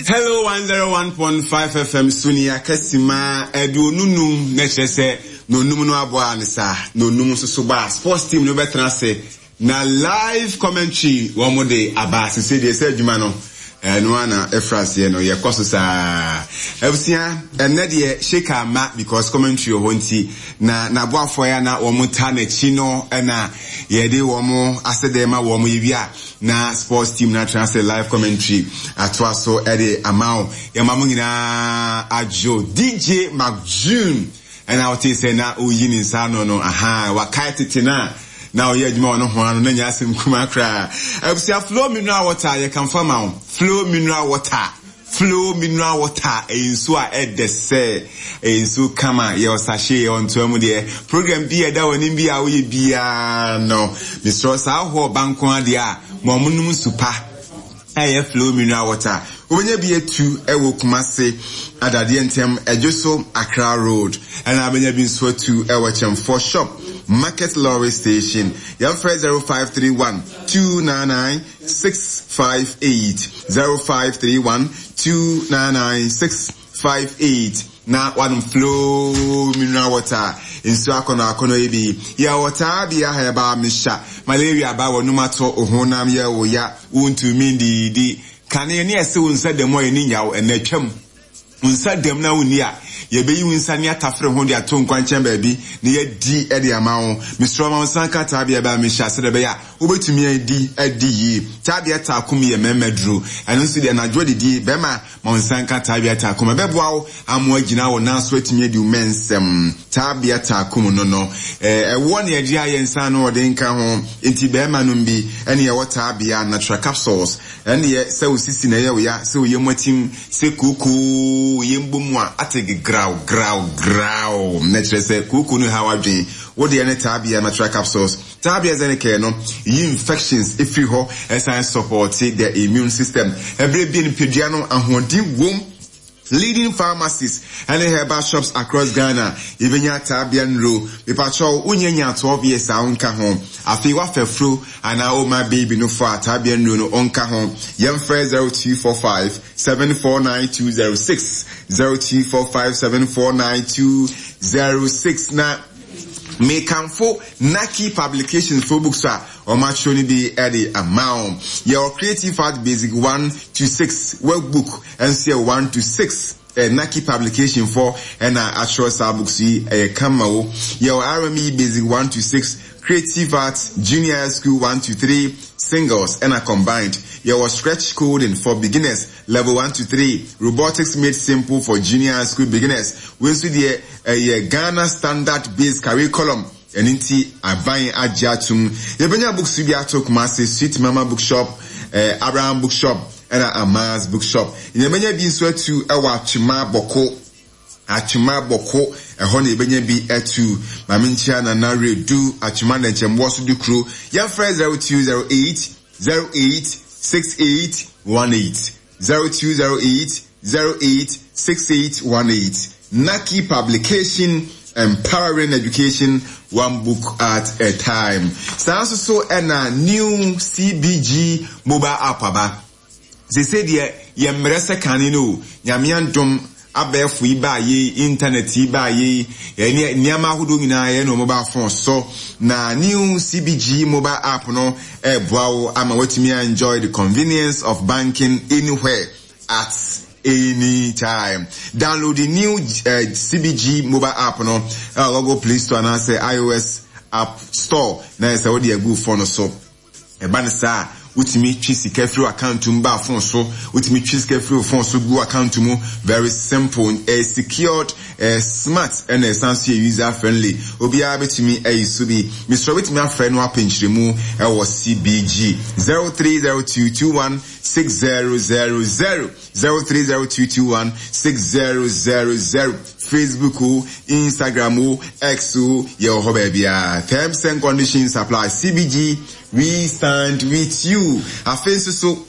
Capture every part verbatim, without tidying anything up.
Hello one zero one point five F M Sunia Kesima aduonu num na kyerɛ sɛ na onum no aboa ne saa na onum nso so ba sports team no bɛtena ase na live commentary wɔn mo de aba sese deɛ sɛ adwuma no ɛno ana ɛfra aseɛ no yɛkɔ so saa. Abusua ɛnɛ deɛ Sheka ma because commentary wɔ hɔ nti na n'aboafoɔ ya na wɔn ta n'akyi no ɛna yɛde wɔn asɛdɛ ma wɔn yɛwia na sports team na atena ase live commentary atoa so ɛde ama wo. Yɛma mo nyinaa adwo D J McJune ɛna wote sɛ na oyi ne nsa no no aha wakae tete na na ɔyɛ adwuma wɔ no ho ano na nya asɛm kuma koraa. Abusua, Flow mineral water yɛ kamfa ma wo. Flow mineral water, Flow mineral water ɛyɛ nsuo a ɛdɛ sɛ ɛyɛ nsuo kama yɛ ɔsahye yɛ ɔntoa mu deɛ program bi ɛda wɔ anim bi a woyɛ biara no mesrɛ saa hɔ banko adeɛ a ma ɔmo nom nsu pa ɛyɛ Flow mineral water. Wobɛnya bi atu ɛwɔ Kumase Adadeɛ ntɛm ɛdwo so Accra Road ɛna wobɛnya bi nso atu ɛwɔ Kyɛmfo Shop Market Lorry Station. Yɛmfrɛ zero five three one two nine nine six five eight zero five three one two nine nine six five eight na wanom Flow mineral water nsuo akɔnɔ akɔnɔ yi bi yɛ wɔtaa bi aha ɛba mesha malaria ba wɔ num ato ohonam yɛ wo ya wontumi ndidi kane ne ɛsɛ wo nsa dɛm a yɛni nyaw ɛna atwam nsa dɛm na wonni a yɛbɛyi wo nsa ne atafere ho de ato nkwankyɛn baabi na yɛdi ɛde ama wo. Mesrɛ ma wo nsa nka taabea bɛa mehyɛ ase dɛ bɛyɛ a wobɛtumi adi adi yie. Taabea taakom yɛ mmarima duro ɛno nso deɛ anadwo adidie bɛrima ma wo nsa nka taabea taakom ɛbɛboa wo ama agyina wo nan so atumi adi wo mɛnsɛm. Taabea taakom no no ɛwɔ ne ɛde ayɛ nsa no ɔde nka ho nti bɛrima no bi ɛne ɛwɔ taabea natural capsules ɛne yɛ sɛ wo sisi na ɛyɛ wo ya sɛ wo yɛ mu atim sɛ kookoo yɛ mbɔ mu a ate graw graw graw na kyerɛ sɛ kookoo no ha wadwen wo deɛ ne taabea natural capsules. Taabea Zenicare no yi infections efiri hɔ ɛsan support the immune system. Ɛberɛ bi nipadua no ahoɔden wom. Leading pharmacies and herbal shops across Ghana yɛbɛnya taabea nro mepakyɛw wonyɛ nya twelve years a wonka ho afei wafɛfuro anaa woma baby no fo a taabea nro no ɔnka ho. Yɛmfrɛ zero two four five seven four nine two zero six zero two four five seven four nine two zero six na mekamfo Naki Publications for books a ɔmatwerɛ no bi ɛde ama wo. Yɛwɔ Creative Art Basic one to six workbook ɛnso yɛ one to six eh, Naki Publication for ɛna atwerɛ saa books yi ɛyɛ kama wo. Yɛwɔ R M E Basic one to six, Creative Arts Junior High School one to three singles ɛna combined. Yɛwɔ Scratch Coding for beginners level one to three, Robotics Made Simple for junior high school beginners. Wei nso deɛ ɛyɛ Ghana Standard Based Curriculum. Ɛno nti aban agye atom. Yɛbɛnya books bi ato Kumasi Sweet Mama Bookshop, eh, Abraham Bookshop, ɛna Amaz Bookshop. Yɛbɛnya bi nso atu ɛwɔ Atwima Bɔko. Atwima Bɔko ɛhɔ na yɛbɛnya bi atu. Maame nkyia Nana Redu Atwima Nkyɛnboɔ so de kuro. Yɛmfrɛ zero two zero eight zero eight six eight one eight zero two zero eight zero eight six eight one eight. Naki Publication, empowering education one book at a time. Saa nso so ɛna new C B G mobile app aba. Sese deɛ yɛ mmerɛ sɛ kane no nyame andom abɛɛfo yi ba ye internet yi ba ye ɛne nneɛma ahodoɔ nyinaa yɛ no mobile phone so na new C B G mobile app no ɛboa wo ama watumi enjoy the convenience of banking anywhere at any time. Download the new uh, C B G mobile app no uh, Google Play Store and say iOS App Store na ɛsɛ wo de agu phone so. Ɛba ne saa wotumi twi sika firi account mu ba phone so, wotumi twi sika firi phone so gu account mu. Very simple, eh, secured, eh, smart, ɛna ɛsan so yɛ user friendly. Obiara betumi ayi so bi. Mesrɛ wetumi afrɛ no apɛnkyerɛ mu ɛwɔ C B G zero three zero two two one six zero zero zero zero three zero two two one six zero zero zero. Facebook o, Instagram o, X o, yɛ wɔ hɔ baabiara. Terms and conditions apply. C B G, we stand with you. Afei nso so,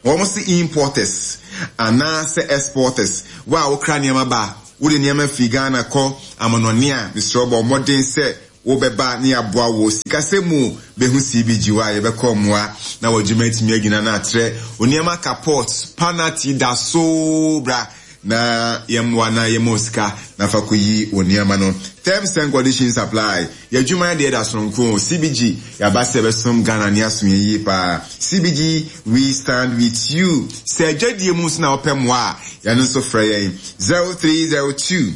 wɔn si importers anaasɛ exporters. Wo a wokra nneɛma ba, wode nneɛma firi Ghana kɔ amanɔne a, mesrɛ bɔ mmɔden sɛ Wobɛba ne yɛaboa wo sikasɛm mu. Bɛhu C B G hɔ a yɛbɛkɔ mmoa na wɔdwuma atumi agyina no atrɛ onneɛma kapot panati da so bra na yɛmmoa na yɛma sika na fa kɔyi wo nneɛma no. Terms and conditions apply. Yɛadwuma deɛ da soronko. C B G yɛaba sɛ yɛbɛsom Ghana ne asom yɛn yie paa. C B G, we stand with you. Sɛ adwadie mu nso na wɔpɛ mmoa a, yɛno nso frɛ yɛn zero three zero two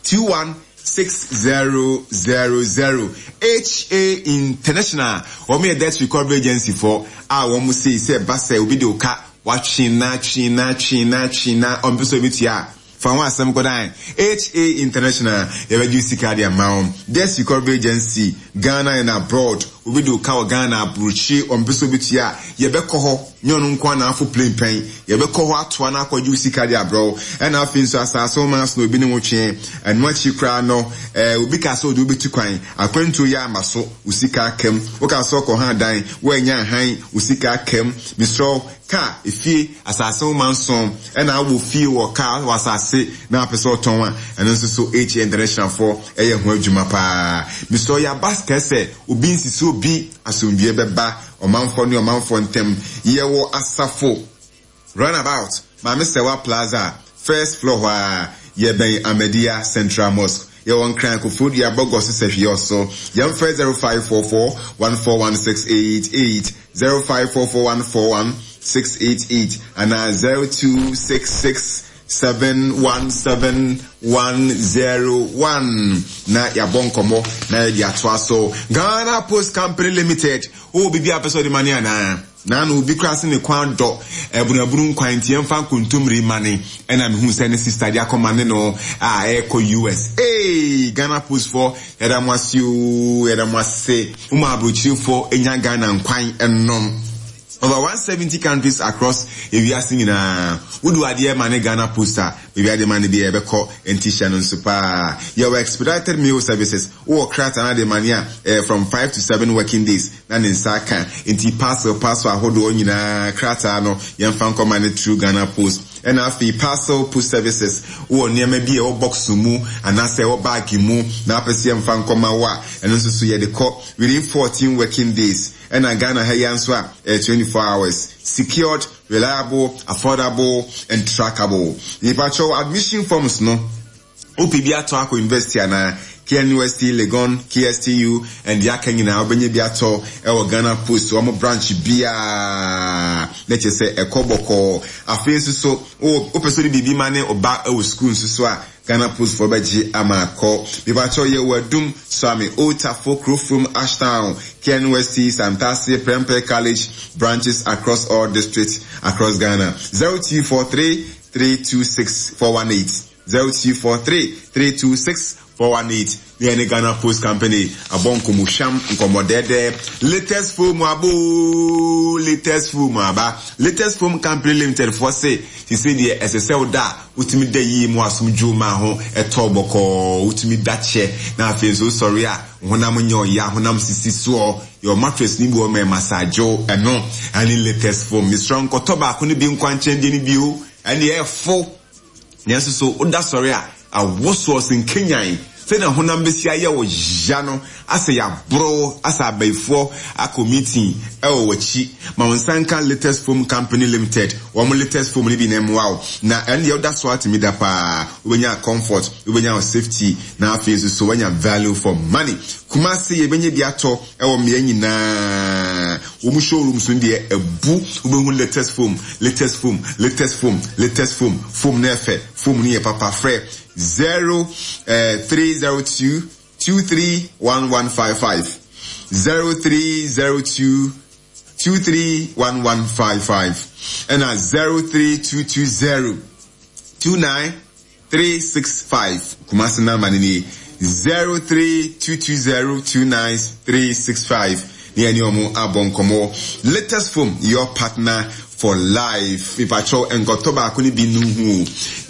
two one six zero zero zero. H A International, wɔn yɛ debt recovery agency fo a wɔn sei sɛ ba sɛ obi de o ka watwe na twe na twe na twe na ɔmpɛ sɛ obi tua a, fa ho asɛm kɔdan H A International, yɛbɛgye sika de ama wɔn. Debt recovery agency, Ghana and abroad. Obi de o ka wɔ Ghana, aburukyi, ɔmpɛ sɛ obi tua a, yɛbɛkɔ hɔ. Nyɛ ɔno nko ana afo plane pɛn, yɛbɛkɔ hɔ atoa no akɔgye wo sika de abrɛw. Ɛna afei nso asase wo maa so na obi ne wo twe ɛno akyi koraa no, ɛɛ obi ka sɛ ɔde wobɛtu kwan, akwantuo yɛ ama so, wo sika akam. Woka sɛ ɔkɔ ha dan, woanya ahan, wo sika akam. Mesrɛ, kaa, efie, asase wo ma nson, ɛna awɔ fie wɔ kaa wɔ asase na apɛ sɛ ɔtɔn a, ɛno nso so H A International foɔ ɛyɛ ho adwuma paa. Mesrɛ, yɛaba kɛsɛ obi nsisi obi, asomdwie bɛba ɔmanfoɔ ne ɔmanfoɔ ntɛm. Yɛwɔ Asafo Roundabout, Maame Sɛwa Plaza, first floor hɔ a yɛbɛn Ahmadiyya Central Mosque. Yɛwɔ Nkran, Koforidua, Bɔgɔ so sɛ hwee ɔso. Yɛmfrɛ zero five four four one four one six eight eight, zero five four four one four one six eight eight anaa zero two six six seven one seven one zero one na yɛabɔ nkɔmmɔ na yɛde atoa so. Ghana Post Company Limited, wowɔ biribi a pɛ sɛ ɔde ma ne anaa na na obi kora se ne kwan dɔ abunabunu nkwan nti yɛmfa nkontommire ma ne, ɛna mehu sɛ ne sister de akɔma ne no a ɛrekɔ U S. Ee, Ghana Post foɔ, yɛda mo ase o, yɛda mo ase. Mo aburokyirefoɔ nya Ghana nkwan ɛnom over one hundred seventy countries across ewiase nyinaa. Wode adeɛ ma ne Ghana Post a, baabi ade ma ne bi ɛbɛkɔ. Nti hyɛ no nso paa, yɛwɔ expedited mail services. Wowɔ krataa na de ma ne a, ɛyɛ from five to seven working days na ne nsa aka. Nti parcel parcel ahodoɔ nyinaa, krataa no yɛmfa nkɔma ne through Ghana Post. Ɛna afei parcel post services, wowɔ nneɛma bi a ɛwɔ box mu anaasɛ ɛwɔ bag mu na apɛ sɛ yɛmfa nkɔma wo a, ɛno nso so yɛde kɔ within fourteen working days. Ɛna Ghana ha yi nso a, ɛyɛ twenty-four hours. Secured, reliable, affordable and trackable. Nipakyɛw, admission forms no, wopɛ bi atɔ akɔ university anaa K N U S T, Legon, K S T U and deɛ aka nyinaa, wobɛnya bi atɔ ɛwɔ Ghana Post wɔn branch biara na kyerɛ sɛ ɛkɔ bɔkɔɔ. Afei nso so wopɛ sɛ wode biribi ma ne ɔba ɛwɔ school nso so a, Ghana Post foɔ bɛgye ama akɔ. Mepakyɛw, yɛwɔ Adum, Suame, Otafo, Kurofrom, Ashtown, K N U S T, Santase, Prempeh College branches across all districts across Ghana. zero two four three three two six four one eight, zero two four three three two six four one eight. Ne yɛne Ghana Post Company abɔ nkɔmmɔhwam nkɔmmɔdɛɛdɛ. Latest Foam abo, Latest Foam aba. Latest Foam Company Limited foɔ se sise deɛ ɛsɛ sɛ woda a, wotumi da yie mu, asomdwo ma ho ɛtɔ bɔkɔɔ, wotumi da kyɛ, na afei nso wosɔre a, honam nyɛ ɔya, honam sisi soɔ. Yɛ mattress ni bi wɔ mɛ massage ɛno ɛne Latest Foam. Mesrɛ, nkɔtɔ baako no bi nkwankyɛn deɛ no bio, ɛne ɛfo nanso so woda sɔre a, awosoɔ sɛ nkenyan sɛnea honam bɛsi ayɛ wo ya no, asɛ yɛaboro asɛ abayifoɔ akɔ meeting ɛwɔ w'akyi. Ma wo nsa nka Latest Foam Company Limited wɔn Latest Foam no bi na ɛmmoa wo, na ɛno deɛ woda so atumi da paa, wobɛnya comfort, wobɛnya wo safety, na afei nso so woanya value for money. Kumase yɛbɛnya bi atɔ ɛwɔ mmea nyinaa. Wɔn showrooms no deɛ ɛbu, wobɛhu Latest Foam, Latest Foam, Latest Foam, Latest Foam. Foam no ɛfɛ, foam no yɛ papa. Frɛ zero three zero two two three one one five five, zero three zero two two three one one five five, ɛna zero three two two zero two nine three six five. Kumasi number ni ni zero three two two zero two nine three six five. Ne yɛne ɔmo abɔ nkɔmɔ. Latest Foam, your partner for life. Mipakyɛw, nkɔtɔ baako ne bi nuhu.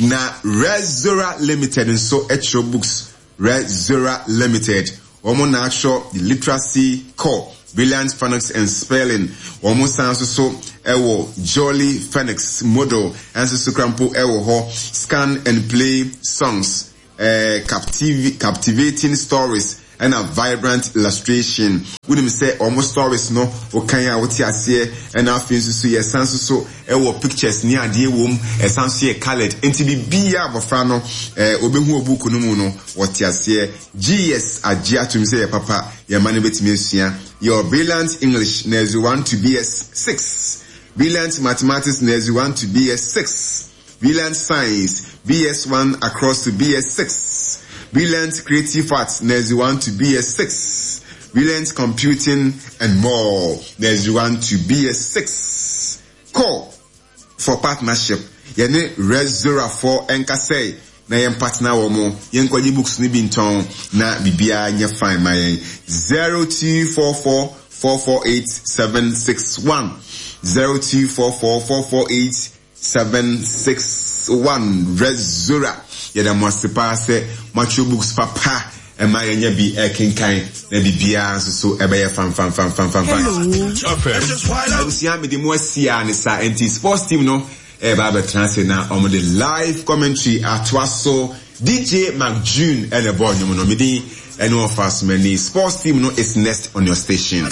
Na Rezora Limited nso ɛkyerɛ books. Rezora Limited wɔn na atwerɛ The Literacy Core, Brilliant Phonics and Spelling. Wɔn san nso so ɛwɔ Jolly Phonics Model ɛnso so krampo ɛwɔ hɔ, Scan and Play Songs, ɛɛ captiv captivating stories. Ɛna vibrant illustration. Wonim sɛ ɔmo stories no, wokan a, wote aseɛ. Ɛna afei nso so yɛsan nso so ɛwɔ pictures ne adeɛ wɔ mu. Ɛsan so yɛ coloured, nti biribiara abɔfra no ɛɛ obɛhu wɔ book no mu no, wɔte aseɛ. G E S agye atom sɛ yɛ papa, yɛma no bɛtumi asua. Yɛwɔ Brilliant English Nursery one to B S six, Brilliant Mathematics Nursery one to B S six, Brilliant Science B S one across to B S six, Brilliant Creative Arts Nursery one to B S six, Brilliant Computing and more, Nursery one to B S six. Call for partnership. Yɛne Rezorafoɔ nkasɛe na yɛn partner wɔ mo, yɛnkɔgye books no bi ntɔn na biribiara nyɛ fine ma yɛn. zero two four four four four eight seven six one, zero two four four four four eight seven six one. Rezora, yɛda mo ase paa sɛ moatwerɛ books papa ɛma yɛnya bi ɛkenkan na biribiara nso so ɛbɛyɛ fanfanfanfanfanfan. Abusua, mede mu asi a ne sa nti sports team no ɛba abɛtena ase na ɔmo de live commentary atoa so. D J McJune ɛna ɛbɔ ɔnwom no. Medin ɛne ɔfa asomani. Sports team no is next on your station.